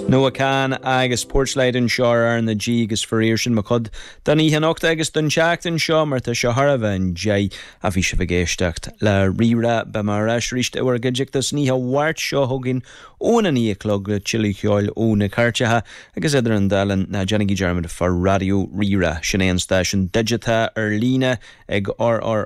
Noah Kahan agus Porchlight anseo ar R na G agus faraor sin mo chuid don oíche anocht agus don tseachtain seo mar tá sé thar a bheith i ndiaidh a bhí sibh ag éisteacht le Rí-Rá. Beidh mé ar ais arís i bhur gcuideachta san oíche Mháirt seo chugainn óna 9 a chlog le tuilleadh ceoil ó na cairteacha agus idir an dá linn ná déanaigí dearmad fá Raidió Rí-Rá. Sin é an stáisiún digiteach ar líne ag RRR.